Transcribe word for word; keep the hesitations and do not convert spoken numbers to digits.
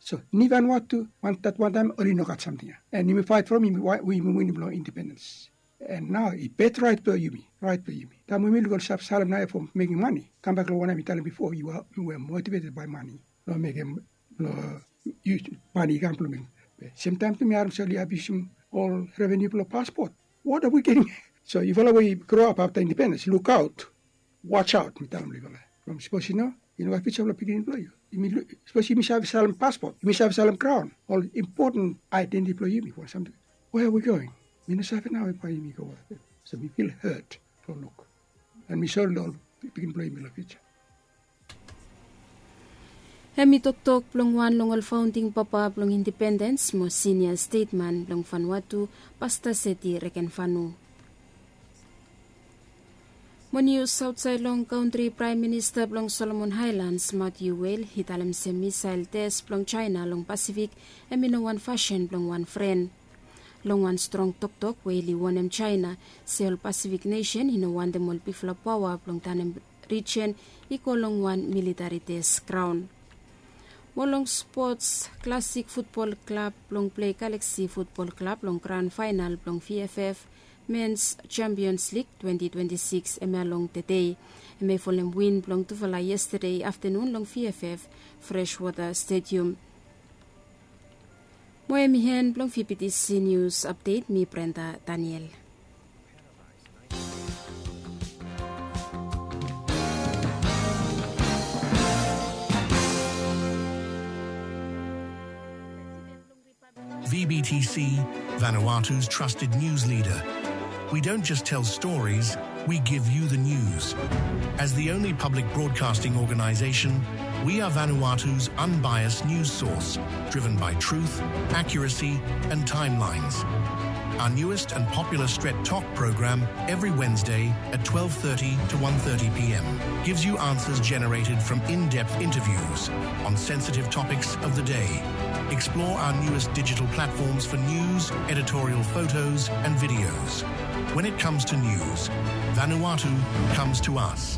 So nivan watu wantat wantaim oli nogat samting ya, en yumi fait from yumi winim long independens. En nao i bet rait blong yumi, rait blong yumi taim yumi luk ol save salem nao ya fo mekim mani. Kambak long wanem mi talem bifo, yu we motiveted bai mani long mekim long mani i kam blong mekim. Semtaim tu mi harim sel i abiusim ol reveniu blong paspot. What are we getting? So yufala we i gro ap afta independens, lukaut. Watch out, mi talem long yufala. From sapos yu no, yu no gat future blong pikinini blong yu. Sapos yumi save salem paspot, yumi save salem graun, ol impoten aidenti blong yumi fo samting. Where are we going? Mi no save nao bai yumi go. So mi fil hurt long luk. En mi sori long ol pikinini blong yumi long future. Hem i toktok blong wan long ol faunding papa blong independens mo sinia stetman blong Vanuatu, Pasta Seti Rekenvanu. Mo nius aotsaed long kantri, Praem Minista blong Solomon Haelans, Matthew Wale, i talem se misael tes blong Jaena long Pasifik hem i no wan fasin blong wan fren. Long wan strong toktok, Wale i wonem Jaena se ol Pasifik nesen i no wantem ol bigfala paoa blong tanem rijen i go long wan militari tes graon. Mo long spots, Klasik Futbol Klab blong Plei Galaksi Futbol Klab long gran faenal blong VFF Mens Champions League twenti twenti sikis hemia long tedei. Hem i folem win blong tufala yestade aftanun long VFF Freshwater Stadium. Mo hem i hen blong VBTC News Update, mi Brenda Daniel. VBTC, Vanuatu's trusted news leader. We don't just tell stories, we give you the news. As the only public broadcasting organization, we are Vanuatu's unbiased news source, driven by truth, accuracy, and timelines. Our newest and popular Stret Tok program every Wednesday at twelve thirty to one thirty p.m. gives you answers generated from in-depth interviews on sensitive topics of the day. Explore our newest digital platforms for news, editorial photos, and videos. When it comes to news, Vanuatu comes to us.